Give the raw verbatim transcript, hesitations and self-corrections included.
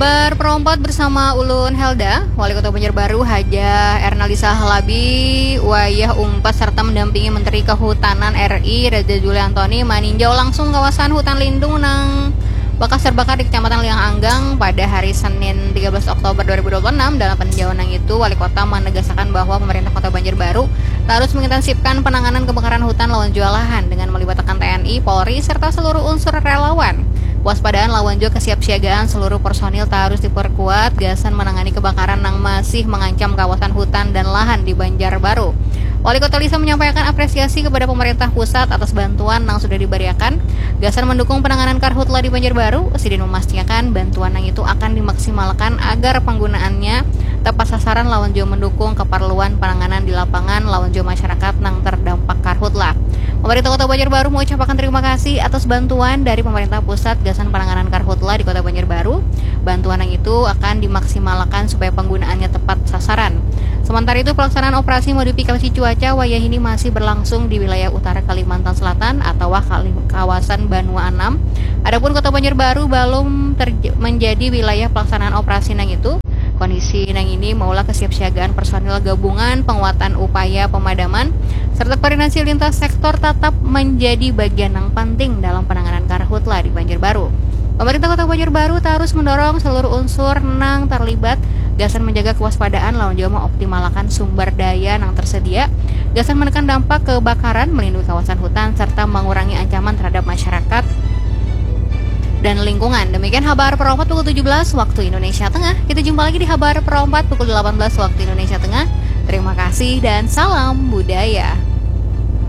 Kabar perompat bersama ulun Helda. Wali Kota Banjarbaru Haja Ernalisa Halabi wayah umpat serta mendampingi Menteri Kehutanan R I Raja Juli Antoni maninjau langsung kawasan hutan lindung nang bakas terbakar di Kecamatan Liang Anggang pada hari Senin tiga belas Oktober dua ribu dua puluh enam. Dalam peninjauan nang itu, Wali Kota menegaskan bahwa pemerintah Kota Banjarbaru terus mengintensifkan penanganan kebakaran hutan lawan jua lahan dengan melibatkan T N I, Polri, serta seluruh unsur relawan. Kewaspadaan lawan jua kesiapsiagaan seluruh personil terus diperkuat gasan menangani kebakaran nang masih mengancam kawasan hutan dan lahan di Banjarbaru. Wali Kota Lisa menyampaikan apresiasi kepada pemerintah pusat atas bantuan yang sudah diberiakan gasan mendukung penanganan karhutla di Banjarbaru. Sidin memastikan bantuan yang itu akan dimaksimalkan agar penggunaannya tepat sasaran lawan jua mendukung keperluan penanganan di lapangan lawan jua masyarakat nang terdampak karhutla. Pemerintah Kota Banjarbaru mengucapkan terima kasih atas bantuan dari pemerintah pusat gasan penanganan karhutla di Kota Banjarbaru. Bantuan yang itu akan dimaksimalkan supaya penggunaannya tepat sasaran. Sementara itu, pelaksanaan operasi modifikasi cuaca wayah ini masih berlangsung di wilayah utara Kalimantan Selatan atau kawasan Banua enam. Adapun Kota Banjarbaru belum menjadi wilayah pelaksanaan operasi nang itu. Kondisi nang ini maulah kesiapsiagaan personil gabungan, penguatan upaya pemadaman, serta koordinasi lintas sektor tetap menjadi bagian yang penting dalam penanganan karhutla di Banjarbaru. Pemerintah Kota Banjarbaru terus mendorong seluruh unsur nang terlibat gasan menjaga kewaspadaan lawan juga mengoptimalkan sumber daya nang tersedia gasan menekan dampak kebakaran, melindungi kawasan hutan, serta mengurangi ancaman terhadap masyarakat dan lingkungan. Demikian Habar Perompat pukul tujuh belas waktu Indonesia Tengah. Kita jumpa lagi di Habar Perompat pukul delapan belas waktu Indonesia Tengah. Terima kasih dan salam budaya.